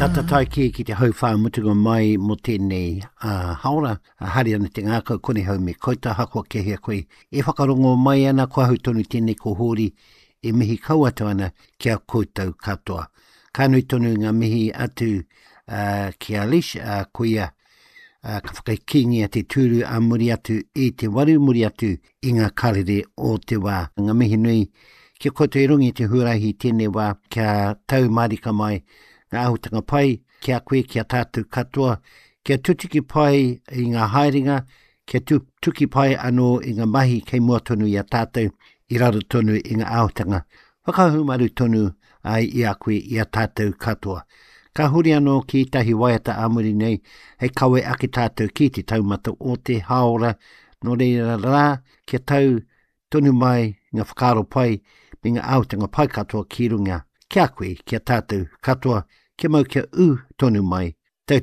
Tata tae kē ki te hauwhā mutunga mai mō tēnei uh, haora. Uh, haere ana te ngākau kone hau me koutou ahakoa kei hea koe e whakarongo mai ana ko ahau tonu tēnei ko Hōri e mihi kau atu ana ki a koutou katoa. Ka nui tonu ngā mihi atu uh, ki a Lish, uh, ko ia uh, ka whakakīngia te tūru a muri atu i te waru muri atu i ngā karere o te wā. Ngā mihi nui ki a koutou i runga i te huarahi i tēnei wā kia tau mārika mai ngā āhutanga pai ki a koe, ki a tātou katoa, kia tutuki pai i ngā haerenga, kia tutuki pai anō i ngā mahi kei mua tonu i a tātou, i raro tonu i ngā āhutanga whakahaumaru tonu ai i a koe, i a tātou katoa. Ka huri anō ki ētahi waiata ā muri nei hei kawe ake tātou ki te taumata o te hāora, nō reira rā, kia tau tonu mai ngā whakaaro pai me ngā āhutanga pai katoa ki runga ki a koe, ki a tātou katoa, kia mau kia ū tonu mai.